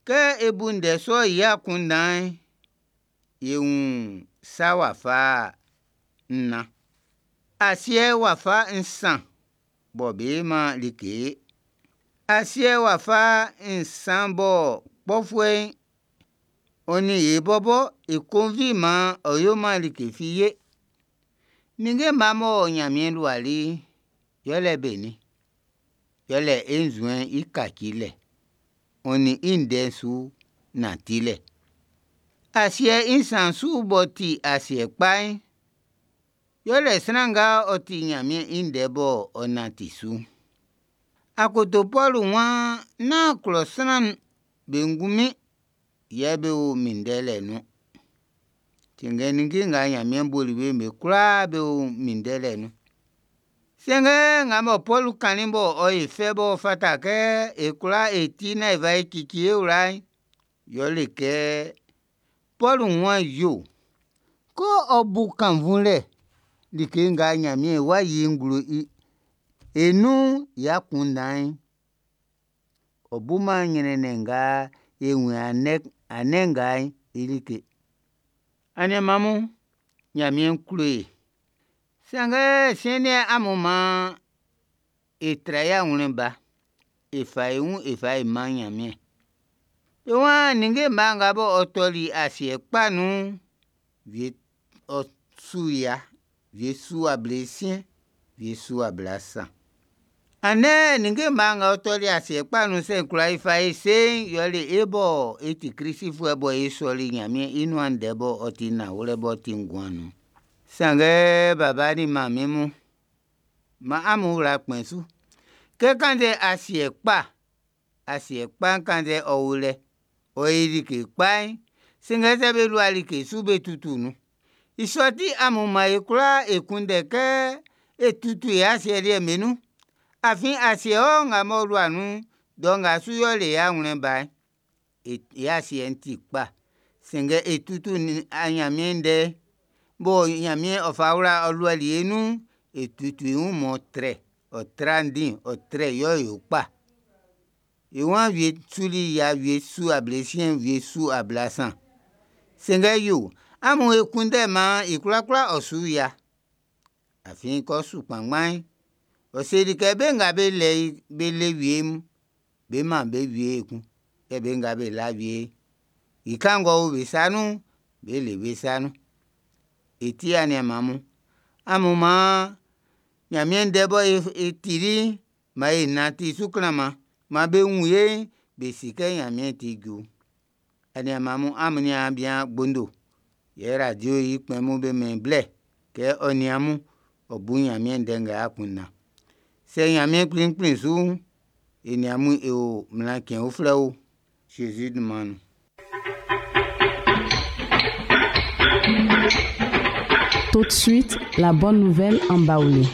Kɛ e bu ndɛ sɔ'n i akunndan'n, e wun sa wafa nnan. Asiɛ wafa nsan bɔ be man like'n. Asiɛ wafa nsan bɔ kpɔfuɛ'n ɔ nin e bɔbɔ e konvi'n maan ɔ yoman like fi ye. Ninnge mma mɔ Ɲanmiɛn luali'n, yɛle benin? Yɛle e nzuɛn'n i kacilɛ, ɔ nin i ndɛ'n su nantilɛ. Asiɛ i nsan su b'ɔ ti asiɛ kpa'n, yɛle sran nga ɔ ti Ɲanmiɛn i ndɛ bɔ ɔ nanti su'n. Akoto Pɔlu waan nán klɔ sran'm be ngunmin yɛ be o minndɛlɛ nun ɔn. Sanngɛ ninnge nga Ɲanmiɛn boli be'n be kwlaa be o minndɛlɛ nun. Sanngɛ nga mɔ Pɔlu kannin m'ɔ yo e fɛ m'ɔ fata kɛ e kwlaa e ti naan e fa e cici e wla'n, yɛle kɛ Pɔlu waan yo, kɛ ɔ bu kannvunlɛ like nga Ɲanmiɛn wá yí i nglo e nun'n i akunndan'n, ɔ buman ɲrɛnnɛn nga e wun i andɛ nga'n i like. Aniaan mun, Ɲanmiɛn klo e. Sanngɛ siɛn'n amun maan e tra e awlɛn ba, e fa e wun e fa e man Ɲanmiɛn. Be waan ninnge mma nga bɔ ɔ tɔli asiɛ kpa nun'n, wie ɔ su ya, wie su ablesiɛn, wie su ablasan. Andɛ ninnge mma nga ɔ tɔli asiɛ kpa nun'n sɛ e kwla fa e se'n, yɛle e bɔ e ti Klistfuɛ bɔ e sɔli Ɲanmiɛn i nuan ndɛ bɔ ɔ ti nanwlɛ b'ɔ ti nguan nun'n. Sanngɛ baba nin manmin mun, maan amun wla kpɛn su kɛ kannzɛ asiɛ kpa, asiɛ kpa'n kannzɛ ɔ o lɛ, ɔ yi like kpa'n, sanngɛ sɛ be lua like su be tutu nun'n, i sɔ ti amun maan e kwlaa e kunndɛ kɛ é tútù e asiɛ liɛ'm be nun. Afin asiɛ nga m'ɔ lua nun'n, dɔ nga su y'ɔ le i awlɛn ba'n, e asiɛ'n ti kpa. Sanngɛ e tutu Ɲanmiɛn ndɛ'n bɔ Ɲanmiɛn ɔ fa wla ɔ luali e nun'n, e tutu i wun m'ɔ trɛ, ɔ tra ndin, ɔ trɛ yɛ ɔ yo kpa. I waan wie suli ya, wie su ablesiɛn, wie su ablasan. Sanngɛ yo, amun e kunndɛ maan i kwlakwla ɔ su ya. Afin kɛ ɔ su kpanngban'n, ɔ seli kɛ be nga be lɛ i be le wie'n, be man be wie ekun. Yɛ be nga be la wie'n, i kan ng'ɔ o be sa nun'n, be le be sa nun. I ti aniaan mun, amun maan Ɲanmiɛn ndɛ bɔ e tili'n, maan e nanti su klanman. Maan be wun ye'n, be si kɛ Ɲanmiɛn ti ju. Aniaan mun, amun niaan bian Gbondo yɛ radio i kpɛn mun be mɛn i blɛ kɛ ɔ nin amun ɔ bu Ɲanmiɛn ndɛ nga i akunndan. Sɛ Ɲanmiɛn Kpli kplin su'n, e nin amun e o mlan cɛn uflɛ o, Zezi dunman nun. Tout de suite, la bonne nouvelle en Baoulé.